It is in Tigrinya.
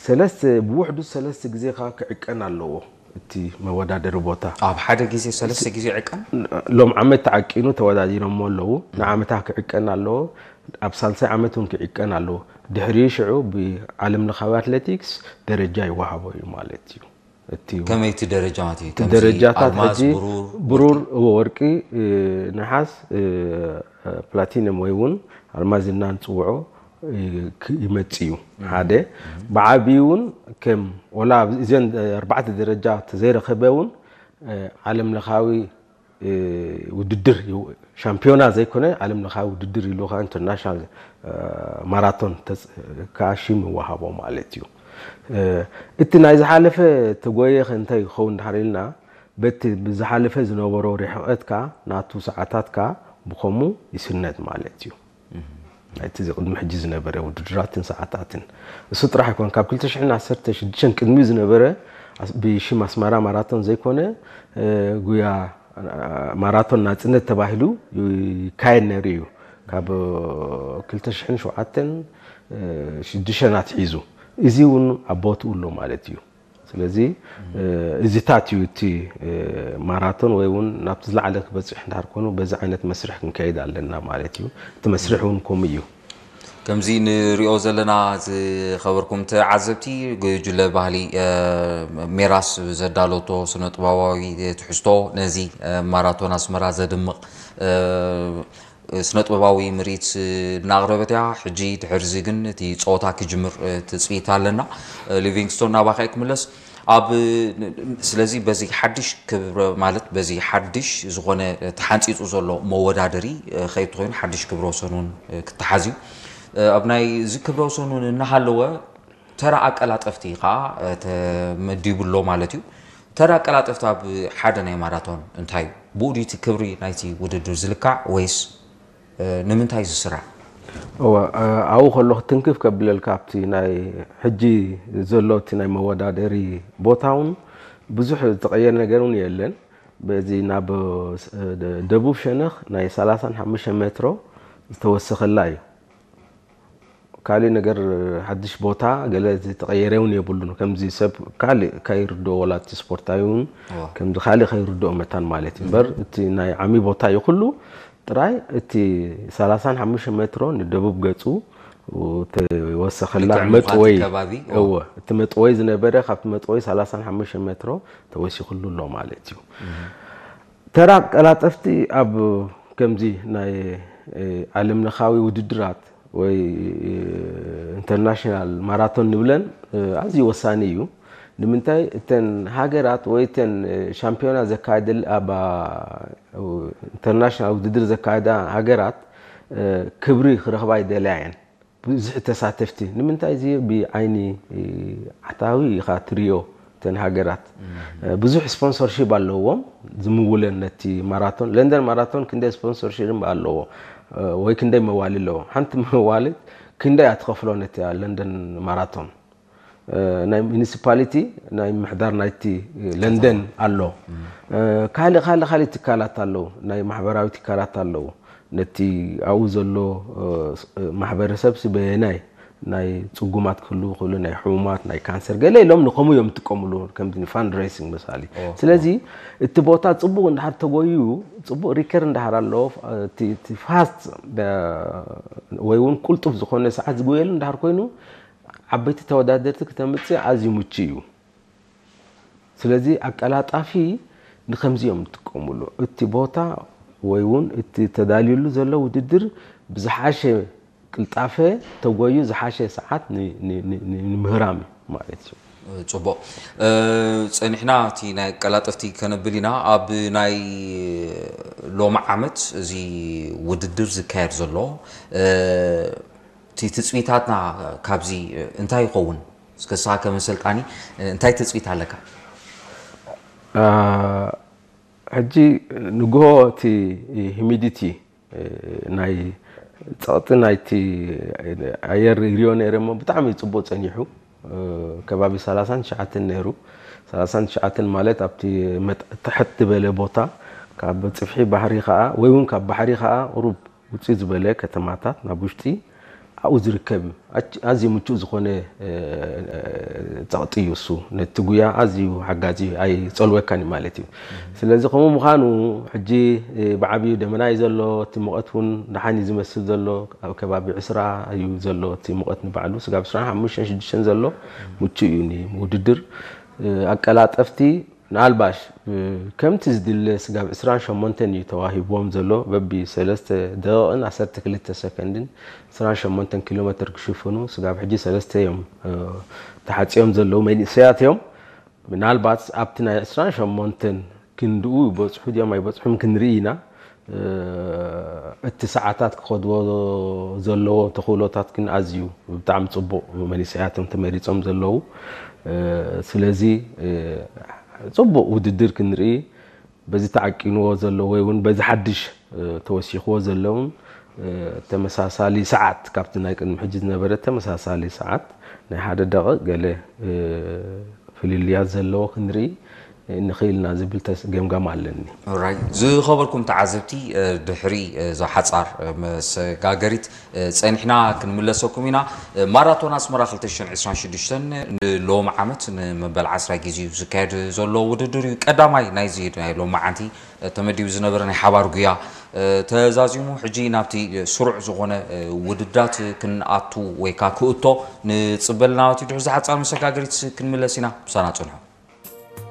ሰለስተ ብውሕዱ ሰለስተ ግዜ ከዓ ክዕቀን ኣለዎ እቲ መወዳደሪ ቦታ። ኣብ ሓደ ግዜ ሰለስተ ግዜ ዕቀን? ሎም ዓመት ተዓቂኑ ተወዳዲሮሞ ኣለዉ። ንዓመታ ክዕቀን ኣለዎ። ኣብ ሳልሳይ ዓመት እውን ክዕቀን ኣለዎ። ድሕሪ ሽዑ ብዓለም ለኻዊ ኣትሌቲክስ ደረጃ ይወሃቦ እዩ ማለት እዩ። እቲ ከመይቲ ደረጃ ማለት እዩ? ከምዚ ደረጃታት ኣልማዝ፣ ሕጂ ብሩር፣ ብሩር፣ ወርቂ፣ ነሓስ፣ ፕላቲኒየም ወይ እውን ኣልማዝ ኢልና ንፅውዖ ይመፅ እዩ። ሓደ ብዓብዩ እውን ከም ወላ እዘን ኣርባዕተ ደረጃ ተዘይረኸበ እውን ዓለም ለኻዊ ውድድር ሻምፒዮና ዘይኮነ ዓለም ለኻዊ ውድድር ኢሉ ከዓ ኢንተርናሽናል ማራቶን ከዓ ሽም ይወሃቦ ማለት እዩ። እቲ ናይ ዝሓለፈ ተጎየ እንታይ ይኸውን ድሓር ኢልና በቲ ብዝሓለፈ ዝነበሮ ርሕቐት ከዓ ናቱ ሰዓታት ከዓ ብኸሙ ይስነድ ማለት እዩ። ናይቲ እዚ ቅድሚ ሕጂ ዝነበረ ውድድራትን ሰዓታትን እሱ ጥራሕ ኣይኮን። ካብ ክልተ ሽሕን ዓሰርተ ሽዱሽተን ቅድሚኡ ዝነበረ ብሽም ኣስመራ ማራቶን ዘይኮነ ጉያ ማራቶን ናፅነት ተባሂሉ ይካየድ ነይሩ እዩ። ካብ ክልተ ሽሕን ሸውዓተን ሽዱሽተን ኣትሒዙ እዚ እውን ኣብ ቦትኡ ኣሎ ማለት እዩ። ስለዚ እዚታት እዩ እቲ ማራቶን ወይ እውን ናብቲ ዝለዓለ ክበፅሕ እንዳር ኮኑ በዚ ዓይነት መስርሕ ክንከይድ ኣለና ማለት እዩ። እቲ መስርሕ እውን ከምኡ እዩ። ከምዚ ንሪኦ ዘለና ዝኸበርኩም ተዓዘብቲ፣ ጉጅለ ባህሊ ሜራስ ዘዳለቶ ስነ ጥበባዊ ትሕዝቶ ነዚ ማራቶን ኣስመራ ዘድምቕ ስነ ጥበባዊ ምርኢት እናቕረበት እያ። ሕጂ ድሕርዚ ግን እቲ ፀወታ ክጅምር ትፅቢት ኣለና። ሊቪንግስቶን ናባኻ ክምለስ ኣብ ስለዚ በዚ ሓድሽ ክብረ ማለት በዚ ሓድሽ ዝኾነ ተሓንፂፁ ዘሎ መወዳደሪ ከይትኾይኑ ሓድሽ ክብረ ወሰን እውን ክተሓዝ እዩ። ኣብ ናይ እዚ ክብረ ወሰን እውን እናሃለወ ተራ ኣቀላጠፍቲ ከዓ ተመዲቡ ኣሎ ማለት እዩ። ተራ ኣቀላጠፍቲ ኣብ ሓደ ናይ ማራቶን እንታይ እዩ? ብኡ ድዩ እቲ ክብሪ ናይቲ ውድድር ዝልካዕ ወይስ ንምንታይ ዝስራዕ? እወ ኣብኡ ከሎ ክትንክፍ ከብለልካ ኣብቲ ናይ ሕጂ ዘሎ እቲ ናይ መወዳደሪ ቦታ እውን ብዙሕ ዝተቐየረ ነገር እውን የለን። በዚ ናብ ደቡብ ሸነኽ ናይ ሰላሳን ሓሙሽተ ሜትሮ ዝተወሰኸላ እዩ። ካልእ ነገር ሓድሽ ቦታ ገለ ዝተቐየረ እውን የብሉን። ከምዚ ሰብ ካልእ ከይርድኦ ወላ እቲ ስፖርታዊ እውን ከምዚ ካልእ ከይርድኦ መታን ማለት እዩ። እምበር እቲ ናይ ዓሚ ቦታ እዩ ኩሉ ጥራይ እቲ ሰላሳን ሓሙሽተ ሜትሮ ንደቡብ ገጹ ተወሰኸላ መጥወይ እወ እቲ መጥወይ ዝነበረ ካብቲ መጥወይ ሰላሳን ሓሙሽተ ሜትሮ ተወሲኽሉ ኣሎ ማለት እዩ። ተራ ቀላጠፍቲ ኣብ ከምዚ ናይ ዓለም ለኻዊ ውድድራት ወይ ኢንተርናሽናል ማራቶን ንብለን ኣዝዩ ወሳኒ እዩ። ንምንታይ እተን ሃገራት ወይ እተን ሻምፒዮና ዘካየደል ኣብ ኢንተርናሽናል ውድድር ዘካየዳ ሃገራት ክብሪ ክረኽባ ይደልያ እየን። ብዙሕ ተሳተፍቲ ንምንታይ እዚ ብዓይኒ ዓታዊ ኢኻ ትሪኦ። እተን ሃገራት ብዙሕ ስፖንሰርሺፕ ኣለዎም ዝምውለን ነቲ ማራቶን። ለንደን ማራቶን ክንደይ ስፖንሰርሺፕ ኣለዎ ወይ ክንደይ መዋሊ ኣለዎ? ሓንቲ መዋሊ ክንደይ ኣትኸፍሎ ነቲ ለንደን ማራቶን? ናይ ሚኒሲፓሊቲ ናይ ምሕዳር ናይቲ ለንደን ኣሎ። ካልእ ካልእ ካልእ ትካላት ኣለዉ፣ ናይ ማሕበራዊ ትካላት ኣለዉ። ነቲ ኣብኡ ዘሎ ማሕበረሰብ ስበየናይ ናይ ፅጉማት ክህልዉ ክእሉ ናይ ሕሙማት ናይ ካንሰር ገለ ኢሎም ንከምኡ እዮም ዝጥቀምሉ ከምዚ ንፋንድሬሲንግ መሳሊ። ስለዚ እቲ ቦታ ፅቡቅ እንድሓር ተጎዩ ፅቡቅ ሪከር እንድሓር ኣለዎ እቲ ፋስት ወይ እውን ቁልጡፍ ዝኾነ ሰዓት ዝጎየሉ እንድሓር ኮይኑ ዓበይቲ ተወዳደርቲ ክተምፅእ ኣዝዩ ምቹ እዩ። ስለዚ ኣቀላጣፊ ንከምዚ እዮም ዝጥቀምሉ። እቲ ቦታ ወይ እውን እቲ ተዳልዩሉ ዘሎ ውድድር ብዝሓሸ ቅልጣፈ ተጎዩ ዝሓሸ ሰዓት ንምህራም እዩ ማለት እዩ። ፅቡቕ። ፀኒሕና እቲ ናይ ቀላጠፍቲ ከነብል ኢና። ኣብ ናይ ሎሚ ዓመት እዚ ውድድር ዝካየድ ዘሎ እቲ ትፅቢታትና ካብዚ እንታይ ይኸውን? እስከ ንስኻ ከም ኣሰልጣኒ እንታይ ትፅቢት ኣለካ? ሕጂ ንግሆ እቲ ሂሚዲቲ ናይ ፀቕጢ ናይቲ ኣየር ይሪኦ ነይረ እሞ ብጣዕሚ ፅቡቅ ፀኒሑ። ከባቢ ሰላሳን ትሽዓተን ነይሩ። ሰላሳን ትሽዓተን ማለት ኣብቲ ትሕት ዝበለ ቦታ ካብ ፅፍሒ ባሕሪ ከዓ ወይ እውን ካብ ባሕሪ ከዓ ቁሩብ ውፅእ ዝበለ ከተማታት ናብ ውሽጢ ኣብኡ ዝርከብ ኣዝዩ ምቹእ ዝኾነ ጸቕጢ እዩ እሱ። ነቲ ጉያ ኣዝዩ ሓጋዚ እዩ፣ ኣይጸልወካን እዩ ማለት እዩ። ስለዚ ከምኡ ምዃኑ ሕጂ ብዓብዩ ደመና እዩ ዘሎ፣ እቲ ሙቐት እውን ደሓን እዩ ዝመስል ዘሎ። ኣብ ከባቢ ዕስራ እዩ ዘሎ እቲ ሙቐት ንባዕሉ፣ ስጋብ ዕስራን ሓሙሽተን ሽዱሽተን ዘሎ ምቹእ እዩ ንውድድር። ኣቀላጠፍቲ ምናልባሽ ከምቲ ዝድለ ስጋብ ዕስራን ሸሞንተን እዩ ተዋሂብዎም ዘሎ፣ በቢ ሰለስተ ደቂቕን ዓሰርተ ክልተ ሰከንድን ዕስራን ሸሞንተን ኪሎ ሜትር ክሽፍኑ ስጋብ ሕጂ ሰለስተ እዮም ተሓፂኦም ዘለዉ መንእሰያት እዮም። ምናልባት ኣብቲ ናይ ዕስራን ሸሞንተን ክንድኡ ይበፅሑ ድዮም ኣይበፅሑን ክንርኢ ኢና። እቲ ሰዓታት ክኸድዎ ዘለዎ ተኽእሎታት ግን ኣዝዩ ብጣዕሚ ፅቡቕ መንእሰያት እዮም ተመሪፆም ዘለዉ። ስለዚ ፅቡቕ ውድድር ክንርኢ፣ በዚ ተዓቂንዎ ዘሎ ወይ እውን በዚ ሓድሽ ተወሲኽዎ ዘለውን ተመሳሳሊ ሰዓት፣ ካብቲ ናይ ቅድሚ ሕጂ ዝነበረ ተመሳሳሊ ሰዓት ናይ ሓደ ደቂቕ ገለ ፍልልያት ዘለዎ ክንርኢ ንኽእል ኢና ዝብል ተስ-፣ ገምጋም ኣለኒ። ኦራይ፣ ዝኸበርኩም ተዓዘብቲ፣ ድሕሪ እዛ ሓጻር መሰጋገሪት ጸኒሕና ክንምለሰኩም ኢና። ማራቶን ኣስመራ ክልተ ሽሕን ዕስራን ሽዱሽተን ንሎሚ ዓመት ንመበል ዓስራይ ግዜ እዩ ዝካየድ ዘሎ ውድድር እዩ። ቀዳማይ ናይዚ ናይ ሎመዓንቲ ተመዲቡ ዝነበረ ናይ ሓባር ጉያ ተዛዚሙ፣ ሕጂ ናብቲ ስሩዕ ዝኾነ ውድድራት ክንኣቱ ወይ ከኣ ክእቶ ንጽበ ኣለና ማለት እዩ። ድሕሪ እዛ ሓጻር መሰጋገሪት ክንምለስ ኢና። ምሳና ጽንሑ።